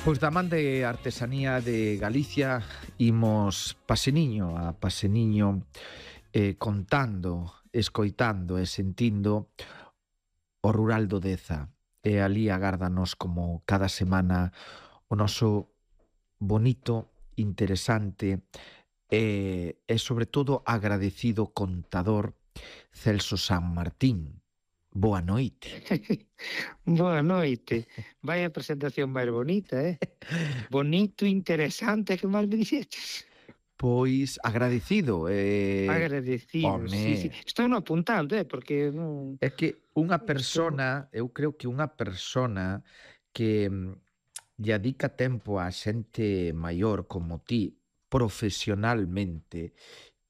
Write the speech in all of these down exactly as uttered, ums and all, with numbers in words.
Pois da man de artesanía de Galicia imos paseniño a paseniño eh, contando, escoitando e sentindo o rural do Deza. E ali agárdanos como cada semana o noso bonito, interesante e, e sobre todo agradecido contador Celso San Martín. Boa noite. Boa noite. Vai a presentación máis bonita, eh? Bonito, interesante, que máis me dixeches? Pois agradecido. Eh, Agradecido, sí, sí. home, Estou no apuntando, eh? Porque non... é que unha Estou... persona, eu creo que unha persona que mm, lle adica tempo á xente maior como ti, profesionalmente,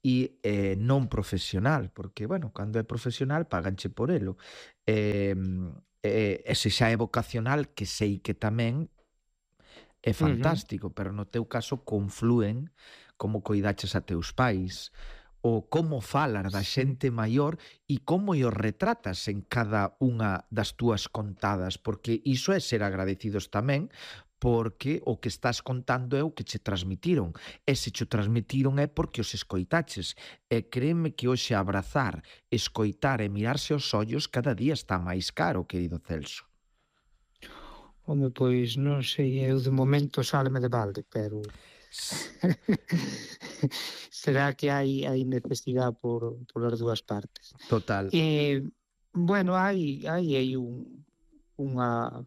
e eh, non profesional, porque, bueno, cando é profesional paganche por elo. E, e, e se xa é vocacional, que sei que tamén é Uh-huh. fantástico, pero no teu caso conflúen como coidaches a teus pais, o como falas da Sí. xente maior e como os retratas en cada unha das túas contadas, porque iso é ser agradecidos tamén, porque o que estás contando é o que che transmitiron, e se che transmitiron é porque os escoitaches, e créeme que hoxe abrazar, escoitar e mirarse aos ollos cada día está máis caro, querido Celso. Home, pois non sei, eu de momento sáleme de balde, pero... será que hai, hai necesidade por, por as dúas partes. Total. Eh, bueno, hai, hai aí un, unha...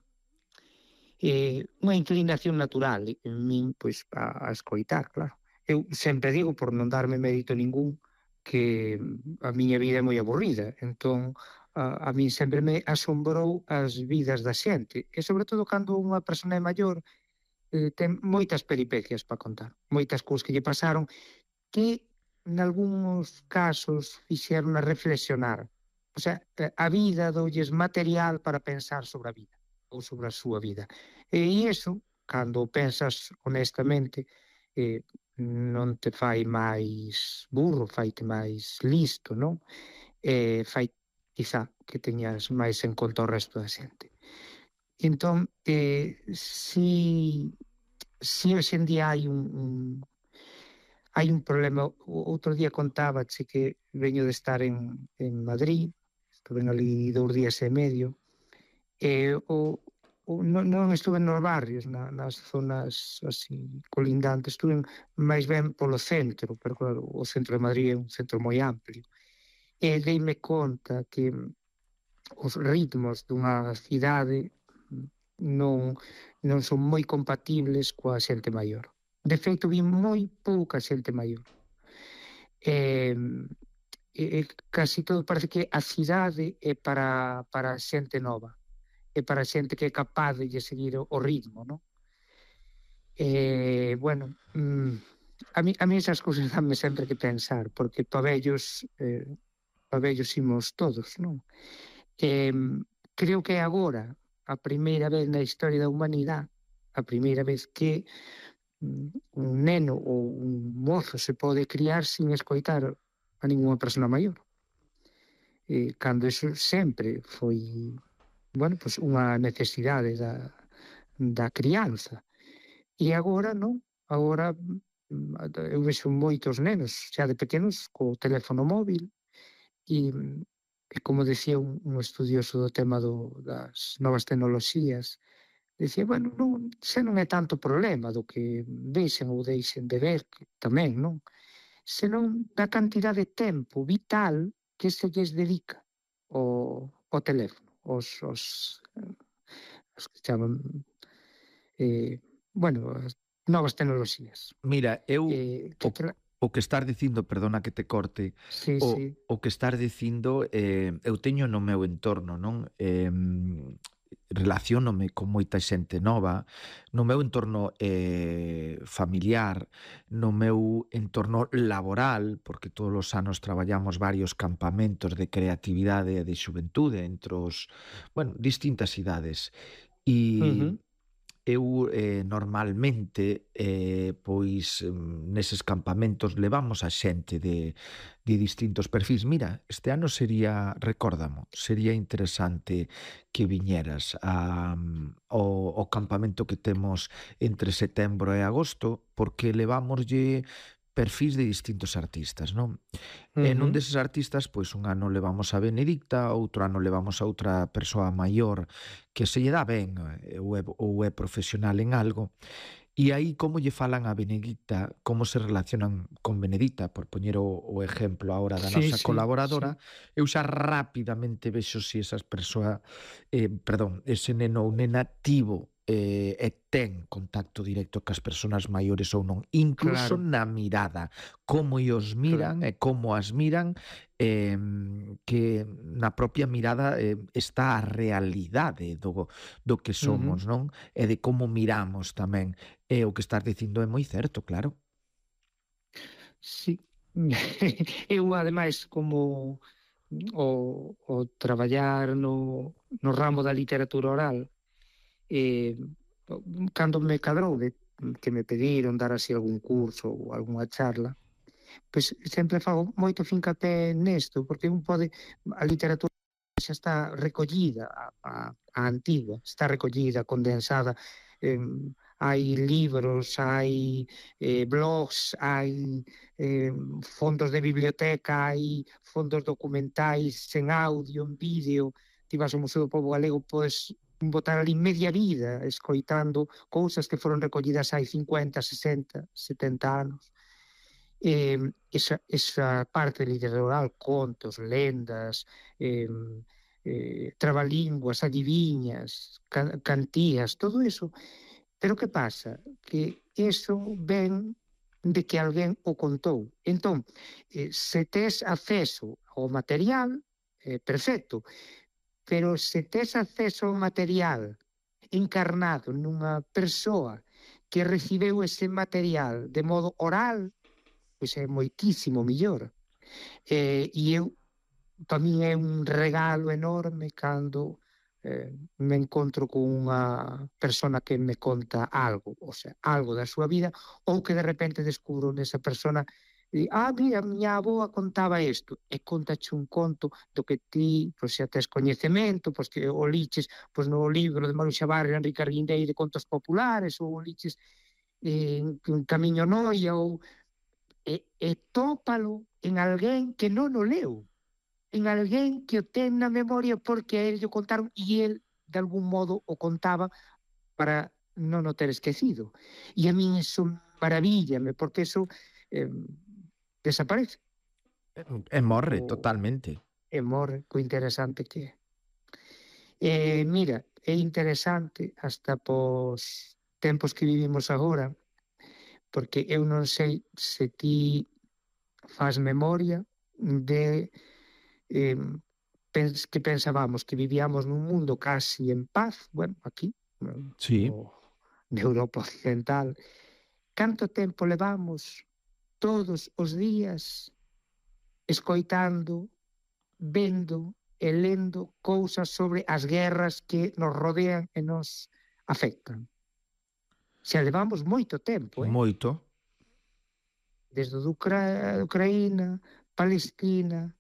eh, unha inclinación natural en min, pois, a, a escoitar, claro. Eu sempre digo, por non darme mérito ningún, que a miña vida é moi aburrida, entón a, a min sempre me asombrou as vidas da xente, e sobre todo cando unha persona é maior, eh, ten moitas peripecias para contar, moitas cousas que lle pasaron, que nalgúns casos fixeron a reflexionar. O sea, a vida doulles material para pensar sobre a vida ou sobre a súa vida. E iso, cando pensas honestamente, eh, non te fai máis burro, faite máis listo, non? E fai, quizá, que teñas máis en conta o resto da xente. Entón, eh, si, si hoxe en día hai un, un hai un problema. O outro día contábache que veño de estar en, en Madrid, estuve ali dous días e medio, e o, o non, non estuve nos barrios, na, nas zonas así colindantes, estuve máis ben polo centro, pero claro, o centro de Madrid é un centro moi amplio, e deime conta que os ritmos dunha cidade non, non son moi compatibles coa xente maior. De feito, vi moi pouca xente maior. E, e casi todo parece que a cidade é para, para xente nova, é para xente que é capaz de lle seguir o, o ritmo, non? E, bueno, mm, a mí, a mí esas cousas danme sempre que pensar, porque pa vellos, eh, pa vellos imos todos, non? E, creo que agora a primeira vez na historia da humanidade, a primeira vez que un neno ou un mozo se pode criar sin escoitar a ninguna persona maior. E cando iso sempre foi, bueno, pues unha necesidade da, da crianza. E agora non, agora eu vexo moitos nenos xa de pequenos co teléfono móvil e, e como decía un, un estudioso do tema do, das novas tecnoloxías, dicía, bueno, non, xa non é tanto problema do que vexen ou deixen de ver, que tamén, non? Senón da cantidad de tempo vital que se lles dedica ao, ao teléfono, os, os, os que chaman, eh, bueno, as novas tecnoloxías. Mira, eu Eh, o, que, tra... o que estás dicindo, perdona que te corte, sí, o, sí. o que estás dicindo eh, eu teño no meu entorno, non? Eh, relaciónome con moita xente nova, no meu entorno eh, familiar, no meu entorno laboral, porque todos os anos traballamos varios campamentos de creatividade e de xuventude entre os, bueno, distintas idades. E, Uh-huh. eu eh, normalmente eh, pois mm, neses campamentos levamos a xente de, de distintos perfis. Mira, este ano sería, recórdamo, sería interesante que viñeras a, mm, ao, ao campamento que temos entre setembro e agosto, porque levámoslle perfis de distintos artistas, non? E nun Ujú. deses artistas, pois un ano levamos a Benedicta, outro ano levamos a outra persoa maior que se lle dá ben eh, ou é, ou é profesional en algo, e aí como lle falan a Benedicta, como se relacionan con Benedicta, por poñer o, o exemplo agora da Sí, nosa sí, colaboradora, sí. eu xa rapidamente vexo se esas persoa, eh, perdón, ese neno ou nena tivo eh, e ten contacto directo cas persoas maiores ou non, incluso Claro, na mirada, como os claro. miran e como as miran, eh, que na propia mirada eh, está a realidade do, do que Ujú. somos, non? E de como miramos tamén. E o que estás dicindo é moi certo, claro. Sí. Eu, ademais, como o, o traballar no, no ramo da literatura oral, eh, cando me cadrou de que me pediron dar así algún curso ou algunha charla, pois sempre fago moito fincapé nesto, porque un pode, a literatura xa está recollida, a, a, a antiga, está recollida, condensada, eh, hai libros, hai eh, blogs, hai eh, fondos de biblioteca, hai fondos documentais en audio, en vídeo. Ti vas ao Museo do Pobo Galego, podes botar ali media vida escoitando cousas que foron recollidas hai cincuenta, sesenta, setenta anos. Eh, esa, esa parte literal, contos, lendas, eh, eh, trabalinguas, adiviñas, can, cantías, todo eso. Pero que pasa? Que eso ven de que alguén o contou. Entón, eh, se tes acceso ao material, eh, perfecto, pero se tes acceso ao material encarnado nunha persoa que recibeu ese material de modo oral, pois é moitísimo millor. Eh, e eu, para min é un regalo enorme cando eh, me encontro con unha persona que me conta algo, o sea, algo da súa vida, ou que de repente descubro nesa persona e, ah, mira, miña aboa contaba isto, e contache un conto do que ti, pois, xa tes coñecemento, pois que o liches pois, no libro de Maruxa Barrio, Enrique Arguindei de Contos Populares, ou o liches eh, en Camiño Noia, ou e, e tópalo en alguén que non o leu, en alguén que o ten na memoria porque a él lle contaron e el de algún modo o contaba para non o ter esquecido. E a min eso maravíllame, porque eso eh, desaparece E morre o, totalmente. e morre co interesante que é. E mira, é interesante hasta pos tempos que vivimos agora, porque eu non sei se ti faz memoria de eh, pens que pensábamos que vivíamos nun mundo casi en paz, bueno, aquí, Sí. no, na Europa Occidental. Canto tempo levamos todos os días escoitando, vendo e lendo cousas sobre as guerras que nos rodean e nos afectan. Xa levamos moito tempo, eh? Moito. Desde o de Ucra Ucraína, Palestina,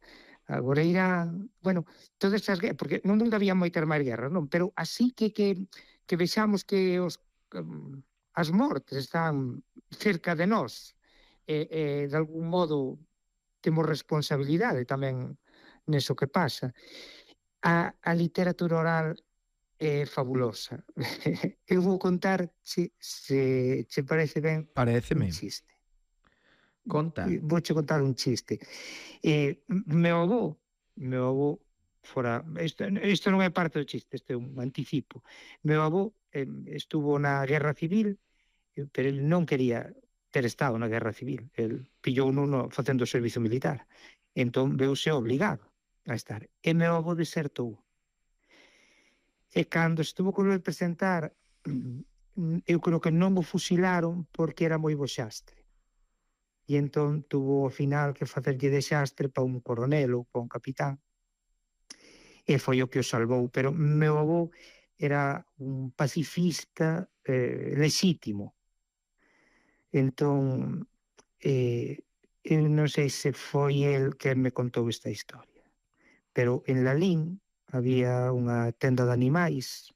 agora Irán, bueno, todas estas guerras, porque no mundo había moitas máis guerras, non? Pero así que que, que vexamos que os, um, as mortes están cerca de nós e, e de algún modo temos responsabilidade tamén neso que pasa. A, a literatura oral é fabulosa. Eu vou contar, se, se che parece ben, un Paréceme. chiste. Conta. Vouche contar un chiste. Eh, meu avó, meu avó fora, isto, isto non é parte do chiste, isto é un anticipo. Meu avó eh, estuvo na Guerra Civil, eh, pero ele non quería ter estado na Guerra Civil. El pillou nuno facendo o servizo militar. Entón veuse obligado a estar. E meu avó desertou. E cando estuvo con el presentar, eu creo que non o fusilaron porque era moi boxastre. E entón tuvo ao final que facerlle de xastre para un coronel ou para un capitán, e foi o que o salvou. Pero meu avó era un pacifista eh, lexítimo. Entón, eh, eu non sei se foi el que me contou esta historia, pero en Lalín había unha tenda de animais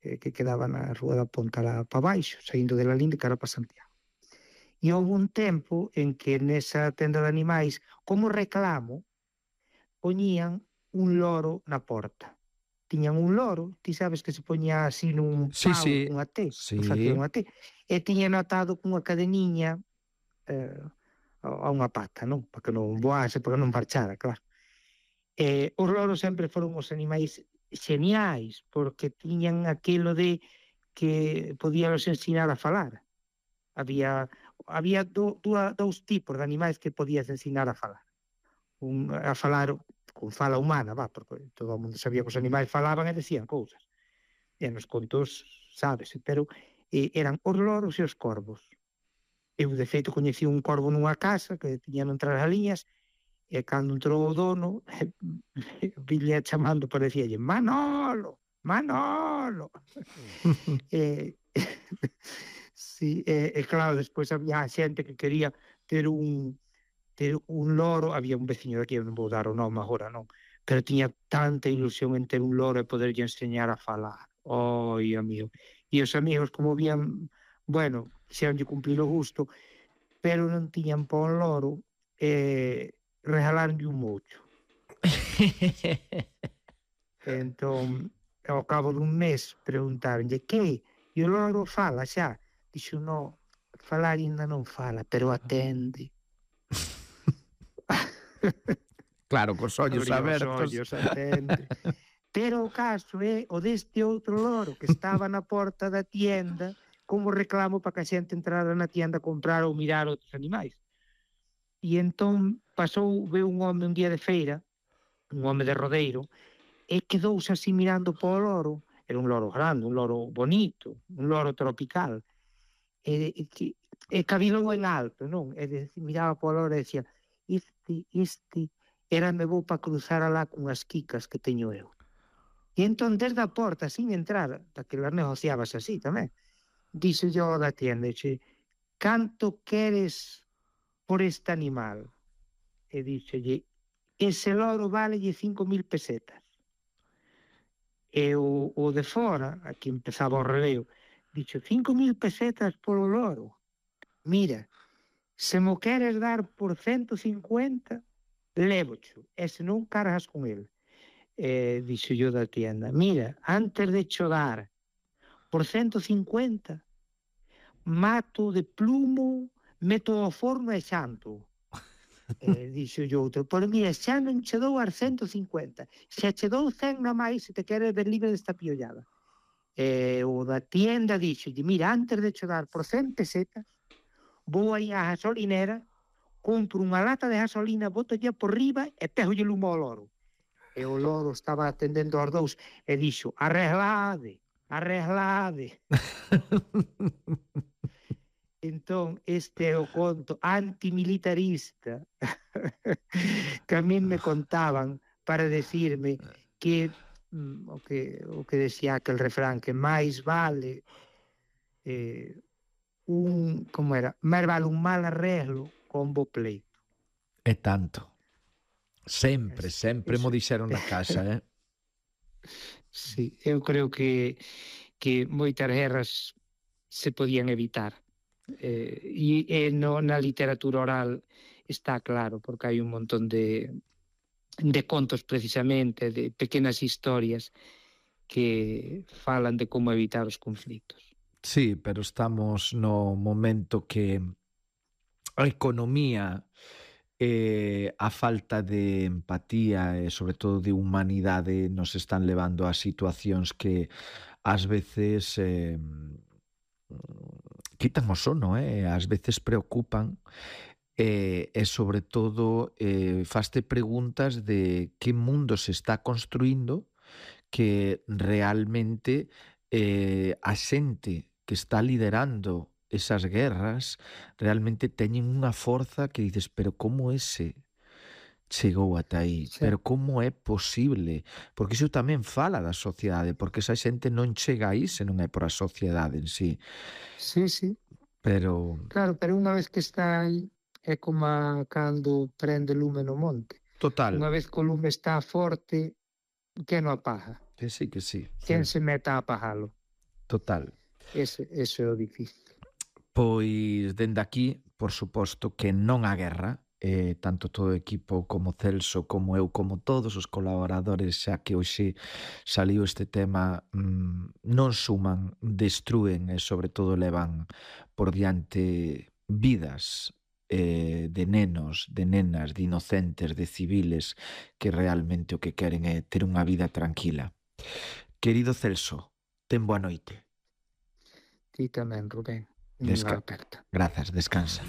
eh, que quedaba na Rúa da Ponta para baixo, saindo de Lalín de cara para Santiago. E houve un tempo en que nesa tenda de animais, como reclamo, poñían un loro na porta. Tiñan un loro, ti sabes que se poñía así nun Sí, pau, sí, unha T, facía sí. unha T, e tiñan atado cunha cadeniña eh, a unha pata, non? Para que non voase, para que non marchara, claro. Eh, os loros sempre foron os animais xeniais, porque tiñan aquilo de que podíanos ensinar a falar. Había había do, dúa, dous tipos de animais que podías ensinar a falar. Un, a falar con fala humana, va, porque todo o mundo sabía que os animais falaban e decían cousas. E nos contos, sabes, pero eh, eran os loros e os corvos. Eu, de feito, coñecí un corvo nunha casa que tiñan entrar as liñas e cando entrou o dono, ville chamando, parecíalle Manolo, Manolo. e, sí, e, e claro, despois había xente que quería ter un ter un loro, había un veciño de aquí, non vou dar o nome agora, non, pero tiña tanta ilusión en ter un loro e poderlle enseñar a falar. Oi, amigo. E os amigos, como vían, bueno, quixeronlle cumplir o gusto, pero non tiñan pa un loro, e regalaronlle un mocho. Entón, ao cabo dun mes, preguntaronlle que? E o loro fala xa? Dixo, no, falar ainda non fala, pero atende. Claro, cos ollos Abría os abertos. ollos, atende. Pero o caso é o deste outro loro que estaba na porta da tienda como reclamo para que a xente entrara na tienda a comprar ou mirar outros animais. E entón pasou, veu un home un día de feira, un home de rodeiro, e quedouse así mirando para o loro. Era un loro grande, un loro bonito, un loro tropical. E, e, que, e cabilou en alto, non? E de, miraba para o loro e decía, este, este, era me vou para cruzar alá con as quicas que teño eu. E entón, desde a porta, sin entrar, daquelas negociabas así tamén, dixo yo da tienda, dixe, canto queres por este animal? E dixolle, ese loro valelle cinco mil pesetas. E o, o de fora, aquí empezaba o releo, dixo, cinco mil pesetas polo loro? Mira, se mo queres dar por ciento cincuenta, lévocho, e se non cargas con el. Eh, dixo yo da tienda, mira, antes de chodar por ciento cincuenta, mato de plumo, meto ao forno e xanto. Eh, dixo yo outro, pero mira, xa non che dou as ciento cincuenta, xa che dou cen na máis se te queres ver libre desta piollada. Eh, o da tienda dixo, mira, antes de chodar por cen pesetas, vou aí á gasolinera, compro unha lata de gasolina, boto ya por riba e pego lle lumo ao loro. E o loro estaba atendendo aos dous e dixo, arreglade, arreglade. Entón, este é o conto antimilitarista que a min me contaban para decirme que mm, o que o que decía aquel refrán, que máis vale eh, un, como era, máis vale un mal arreglo con bo pleito. E tanto. Sempre, sempre mo dixeron na casa, eh? Sí, eu creo que que moitas guerras se podían evitar. Eh, e, e no, na literatura oral está claro, porque hai un montón de de contos precisamente, de pequenas historias que falan de como evitar os conflitos. Sí, pero estamos no momento que a economía e a falta de empatía e sobre todo de humanidade nos están levando a situacións que ás veces eh, quitan o sono, eh? Ás veces preocupan e, e sobre todo eh, faste preguntas de que mundo se está construindo que realmente eh, a xente que está liderando esas guerras realmente teñen unha forza que dices, pero como ese chegou ata aí, Xa, pero como é posible? Porque iso tamén fala da sociedade, porque esa xente non chega aí se non é por a sociedade en sí. sí, sí, Pero claro, pero unha vez que está aí é como cando prende lume no monte. total, Unha vez que o lume está forte, quen o apaga? que sí, que sí, Quen sí, se meta a apagalo? total. Ese, ese é o difícil. Pois dende aquí, por suposto que non a guerra, eh, tanto todo o equipo como Celso, como eu, como todos os colaboradores, xa que hoxe saliu este tema, mm, non suman, destrúen e sobre todo levan por diante vidas eh, de nenos, de nenas, de inocentes, de civiles que realmente o que queren é ter unha vida tranquila. Querido Celso, ten boa noite. Ti tamén, Rubén. Unha Desca aperta. Grazas, descansa.